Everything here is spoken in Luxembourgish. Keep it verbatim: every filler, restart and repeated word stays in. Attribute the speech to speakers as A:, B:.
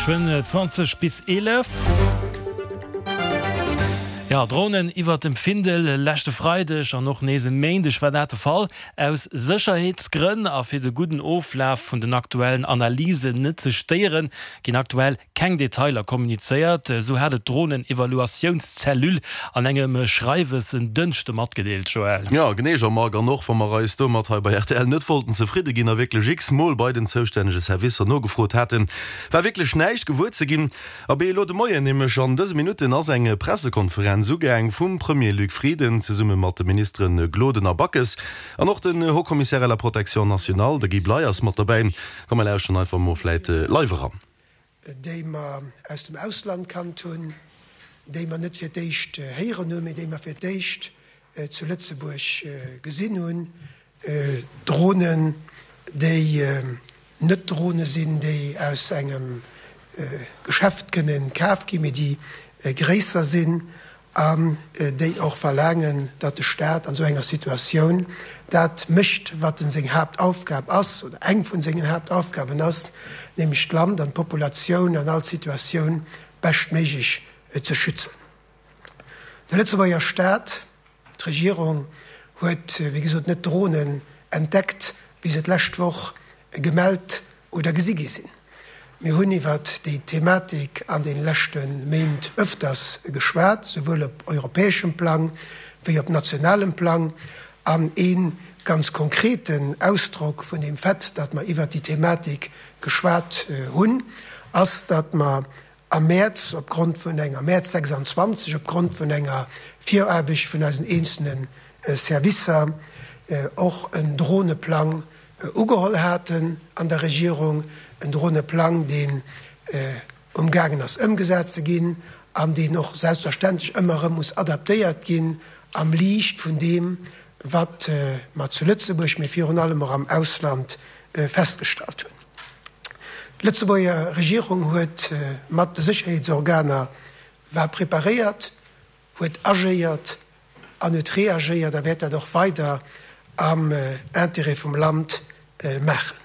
A: Geschwënn zwanzeg bis eelef. Jo, Dronen iwwert dem Findel leschte Freideg an och nees e Méindeg war dat de Fall. Aus Sécherheetsgrënn a fir de gudden Oflaf vun den aktuellen Analysen net ze stéieren, ginn aktuell keng Detailer kommunizéiert. Esou hat et d'Dronen-Evaluatiounscellule an engem Schreiwes en Dënschde matgedeelt, Joël.
B: Jo, genee, Jean-Marc. An och wa mer eis domat hei bei rtl net wollten zefridde ginn a wierklech x-mol bei den zoustännege Servicer nogefrot haten, war wierklech näischt gewuer ze ginn. Abee, elo de Moien, nämlech an dëse Minutten, ass eng Pressekonferenz ugaang vum Premier Luc Frieden zesumme mat de Ministere Gloden a Backes. An och den Haut-Commissaire à la protection nationale, de Guy Bley, ass mat derbäi. Komm mer lauschteren einfach mol vläit live eran.
C: Déi mer aus dem Ausland kannt hunn, déi mer net fir d'éischt héieren hunn, mee déi mer fir d'éischt zu Lëtzebuerg gesinn hunn, Dronen, déi net Drone sinn, déi aus engem Geschäft kënnen kaf ginn, mee déi gréisser sinn an déi och verlaangen, datt de Staat an esou enger Situatioun dat mécht, wat en seng Haaptaufgab ass oder eng vun sengen Haaptaufgaben ass, nämlech d'Land an d'Populatioun an all Situatioun beschtméiglech ze schützen. De Lëtzebuerger Staat, d'Regierung huet, wéi gesot, net d'Dronen entdeckt, wéi se d'lescht Woch gemellt oder gesi gi sinn. Mir hunn iwwert déi Thematik an de leschte Méint ëfters geschwat, souwuel op europäeschem Plang wéi op nationalem Plang. An ee ganz konkreten Ausdrock vun deem Fait, datt mer iwwert déi Thematik geschwat hunn, ass, datt mer am Mäerz opgrond vun enger, Mäerz sechsandzwanzeg, opgrond vun enger Viraarbecht vun eisen eenzelne Servicer och en Droneplang ugeholl haten an der Regierung, en Droneplang, deen umgaangen ass ëmgesat ze ginn an deen och selbstverständlech ëmmer erëm muss adaptéiert ginn am Liicht vun deem, wat mer zu Lëtzebuerg, mee virun allem och am Ausland festgestallt hunn. D'Lëtzebuerger Regierung huet mat de Sécherheetsorganer war preparéiert, huet agéiert an huet reagéiert a wäert dat och weider am Intérêt vum Land maachen.